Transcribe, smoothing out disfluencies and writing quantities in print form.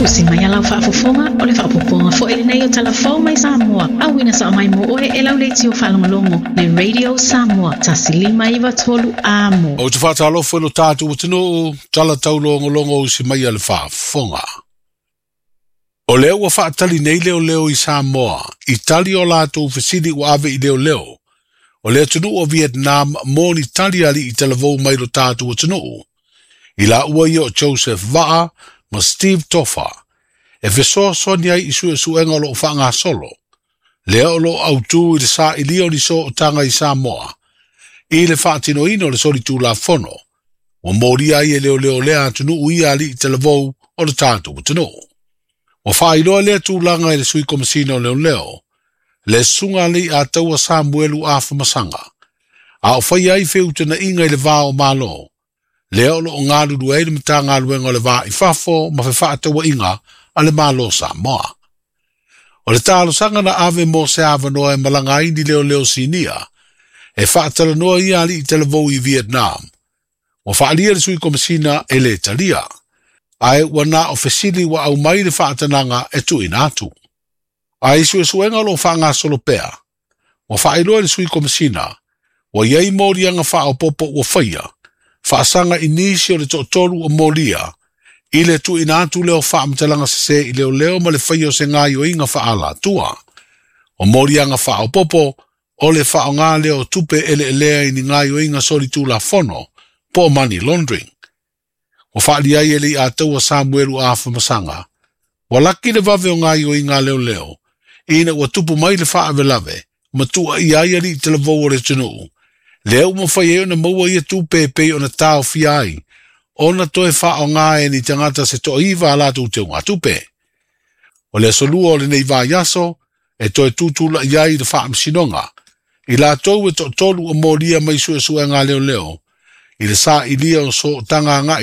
Usi mai a lau faafofoga, o le faaopoopoga foi lenei o Tala Fou mai Samoa, auina sao mai mo oe e lau leitio faalogologo, le Radio Samoa, 1593 amo. Ou te faatalofa i lo tatou atunuu, tala taulogologo usi mai a le faafofoga. O lea ua faatali nei leoleo i Samoa, i tali o latou fesili ua ave i leoleo, o le atunuu o Vietnam mo ni tali alii talavou mai lo tatou atunuu. I laua ia o Joseph Vaa ma Steve Tofa, e fesoasoani ai i suesuega o loo faagasolo, lea o loo autū i le sailia o ni sootaga i Samoa, i le faatinoina o le solitulafono, ua molia ai e leoleo lea atunuu ia alii talavou o le tatou atunuu. Ua faailoa lea tulaga i le sui komasina o leoleo, le susuga a Leiataua Samuelu Afamasaga, a o faia ai feutanaiga i le va o Malo, lea o loo galulue ai le Matagaluega o le Va i Fafo ma Fefaatauaiga a le Malo Samoa. O le talosaga na ave mo se avanoa e malaga ai ni leoleo sinia, e faatalanoa ia alii talavou i Vietnam. Ua faalia le sui komasina e le talia, ae ua na o fesili ua aumai le faatanaga e tuuina atu. Ae i suesuega o loo faagasolo pea, ua faailoa e le sui komasina, ua i ai moliaga faaopoopo ua faia, faasaga i nisi o le toatolu o molia, i le tuuina atu lea o faamatalaga sesē i leoleo ma le faia o se gaoioiga faaalatua. O moliaga faaopoopo o le faaaoga lea o tupe eleelea i ni gaoioiga solitulafono po o money laundering. Ua faalia ai e Leiataua Samuelu Afamasaga, ua laki le vave o gaoioiga a leoleo, ina ua tupu mai le faavelave, ma tuuaia ai alii talavou o le atunuu, lea ua mafai ai ona maua ia tupe e pei ona taofia ai, ona toe faaaoga e ni tagata se toaiva a latou teugatupe. O le aso lua o lenei vaiaso, e toe tutulai ai le faamasinoga, i latou e toatolu o molia mai suesuega a leoleo, i le sailia o sootaga agai.